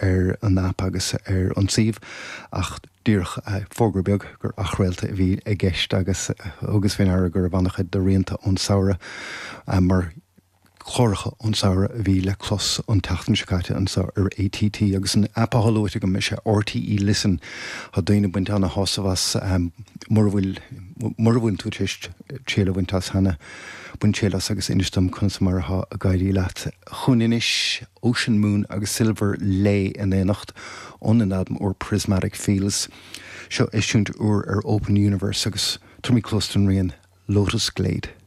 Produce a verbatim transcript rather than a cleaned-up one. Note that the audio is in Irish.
ar an app agus ar an suíomh ach díreach fógra beag gur athchraolta a bhí i gceist agus agus faoi deara go raibh an-chuid de rianta ón samhradh mar chláracha ón samhradh a bhí le clos an tseachtain seo caite anseo ar ATT agus an app atá luaite agam is é RTE Listen Tá daoine ag baint an-shásamh as mura bhfuil mura bhfuil tú triail a bhaint as cheana bain triail as agus inis dom conas mar atá ag éirí leat. Chugainn anois Ocean Moon agus Silver Lay in éineacht ón albam úr Prismatic Fields. Seo eisiúint úr ar Open Universe agus tabharfaimid cluas don rian Lotus Glade.